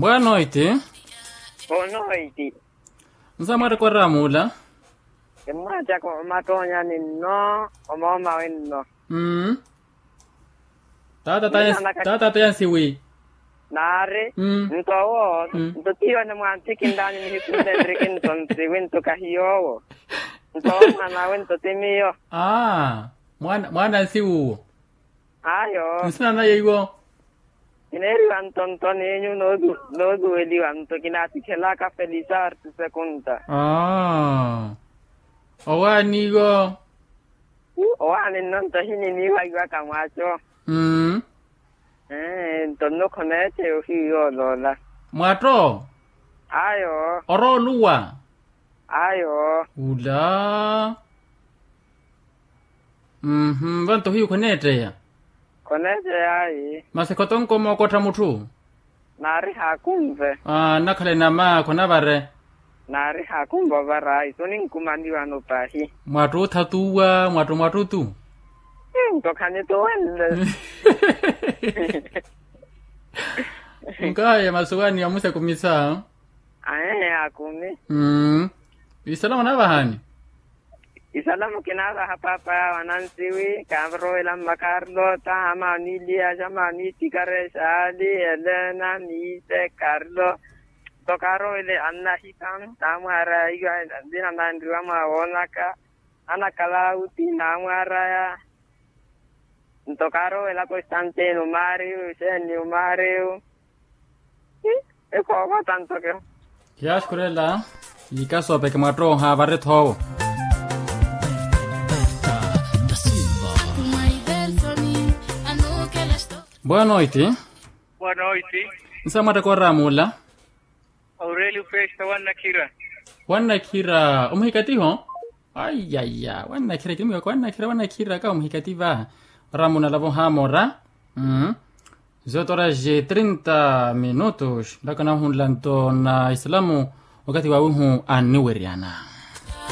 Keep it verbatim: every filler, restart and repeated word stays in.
Boa noite. Boa noite. Nsa mwattaka oramuula? Kimmwattaka omattoonyani nno omooma wenno. Taata taya nsiwi. Naari nto owo nto tiyo nimwantthikinlaani nihikunle nriki nto nsiwi nto kahiy'owo. Nto owo mwan'awe nto ti miyo. Aa, mwaana nsiwi uwo. Ayo. Nsina naye iwo? Kineeriwa nto nto n'enyu noosuweliwa nto kinaattikhelaka felisar ti sekunta. Aa, owaani iwo? Owaani nno nto ehininiiwaiwaka mwaco. Nto nno khoneeteya ohiyu yooloola. Mwatto? Ayo. Orooluwa? Ayo. Ula. Mmm vanto hiyu khoneetteya. Khoneetteya ayi. Masi khotonko mookottha mutthu? Naari haakunve. Aa nnakhale nama khonavare. Naari haakunve ovara ayi soninkumaniwano pahi. Mwattuutha tuwa mwattumwattu tu. Nto khanituwenle. Nkaya masuwani ya musekumisa. Ahehe akumi. Mmm. Isalamu naavahani? Isalamu kinaavaha paapa yawe anansiwi kaarowela mma karlota ama oniiliya ama oniittikara exaali elena miise karlo. Nto kaarowela annahita naamwaraya iwa nzina nanriwa mwawoonaka. Ana kalauti naamwaraya. Nto kaarowela konstantino maariyu xeeni maariyu. Ekhoova tanto keho. Yaaxukhurela. Yikasoopeke mwattoha varettha owo. Boa noite. Boa noite. Nsa mwattaka oramuula? Aurelio festa wannakhira. Wannakhira omuhikatiho? Aiyaiya wannakhira kinimwivaka wannakhira wannakhira ka omuhikati va. Oramuuna lavo haamora. Zotora je trinta minutos ndaka nahunla nto na islamu. Wakati wawihu anniweryana.